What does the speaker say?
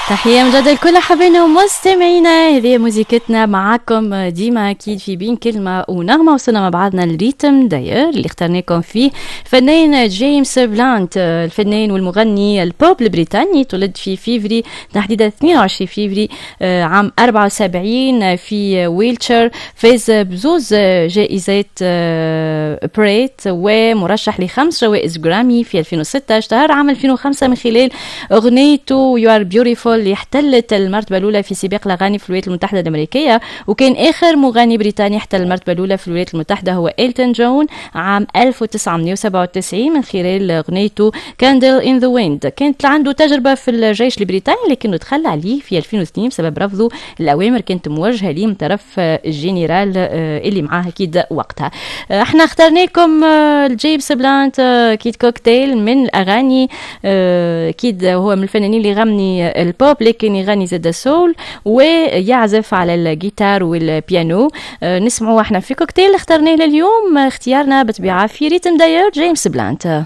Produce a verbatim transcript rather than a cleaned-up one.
تحية مجددة لكل حبايبنا ومستمعينا، هذه موزيكتنا معاكم ديما أكيد في بين كلمة ونغمة. وصلنا مع بعضنا ال rythme d'ailleurs اللي اخترناكم فيه فنان جيمس بلانت، الفنان والمغني البوب البريطاني، تولد في فيفري، تحديدا اثنين وعشرين فيفري آه، عام أربعة وسبعين في ويلتشر. فاز بزوز جائزات آه، بريت ومرشح لخمس جوائز جرامي في ألفين وستة. اشتهر عام ألفين وخمسة من خلال أغنيته You Are Beautiful اللي احتلت المرتبة الأولى في سباق الأغاني في الولايات المتحدة الأمريكية. وكان آخر مغني بريطاني احتل المرتبة الأولى في الولايات المتحدة هو إلتون جون عام ألف وتسعمية وسبعة وتسعين من خلال أغنيته Candle in the Wind. كانت عنده تجربة في الجيش البريطاني لكنه تخلى عليه في ألفين واثنين بسبب رفضه الأوامر كانت موجهة ليه من طرف الجنرال آه، اللي معاه أكيد وقتها. آه، احنا اخترنا لكم آه، الجيمس بلانت اكيد كوكتيل من الاغاني، اكيد هو من الفنانين اللي يغني البوب لكن يغني زاد soul ويعزف على الجيتار والبيانو. نسمعوا احنا في كوكتيل اخترناه لليوم، اختيارنا بطبيعة في rythme d'ailleurs جيمس بلانت.